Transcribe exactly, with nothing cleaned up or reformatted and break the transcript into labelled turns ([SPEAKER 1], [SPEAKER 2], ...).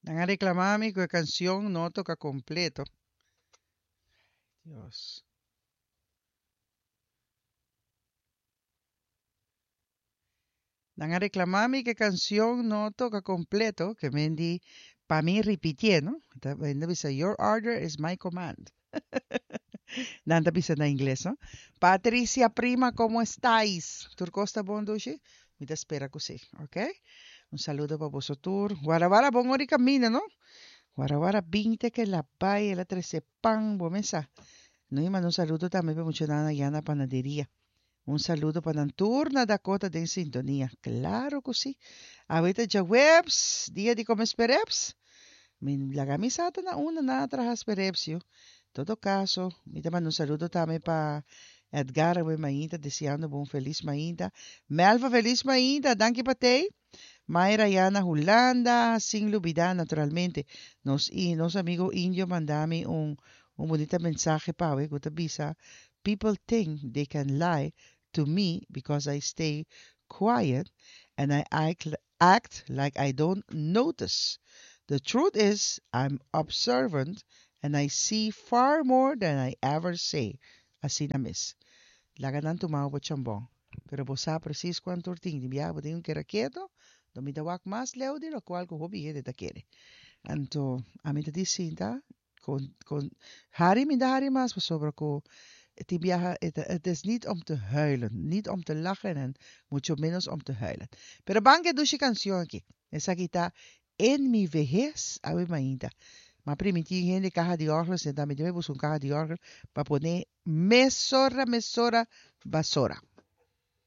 [SPEAKER 1] Nan a reklamá mi ku e kansion no a toka kompleto. Dios. Nan a reklamá mi ku e kansion no a toka kompleto, ke men di pa mi ripitié, no? Ta nan ta bisa, Your order is my command. Nan ta bisa na ingles, no? Patricia prima, ¿cómo estáis? Tur kos ta bon, dushi? Mi ta spera ku sí, ok? Un saludo pa boso tur. Guarawara bon ora i kaminda, no? Guarawara binte ke la bai, el a trese pan, bo mesa. No i manda un saludo tambe pa muchanan allá na panaderia. Un saludo pa nan tur na Dakota den sintonia. Claro cu si. Awe ta djaweps, dia di come spereps. Mi laga mi sa ta na unda nan a traha spereps yu. Todo caso, mi ta manda un saludo tambe pa Edgar awe mainta deseando bo un feliz mainta. Melva feliz mainta, danki pa tey. Mayra ya na Hulanda, sin lubida naturalmente nos i nos amigo Indio manda mi un un bunita mensahe pawe ku ta bisa people think they can lie to me because I stay quiet and I act, act like I don't notice. The truth is I'm observant and I see far more than I ever say. Asina mes. Laga nan tuma bo chambon. Pero bo sa precies cuanto or tin. Di biaha bo tin un kera keto, do mi ta wak mas leu di locual cu hopi hende ta kere. Anto, ami ta di sinta con, con, hari mi ta hari mas pasobra cu tin biaha het, het is niet om te huilen, niet om te lachen en mucho menos om te huilen. Pero ban ke dushi cancion aki. Esaki ta En mi vejez, awe mainta. M'a primintí hende kaha di òrgel, sentá mi debe buska un kaha di òrgel pa pone mesora, mesora, basora.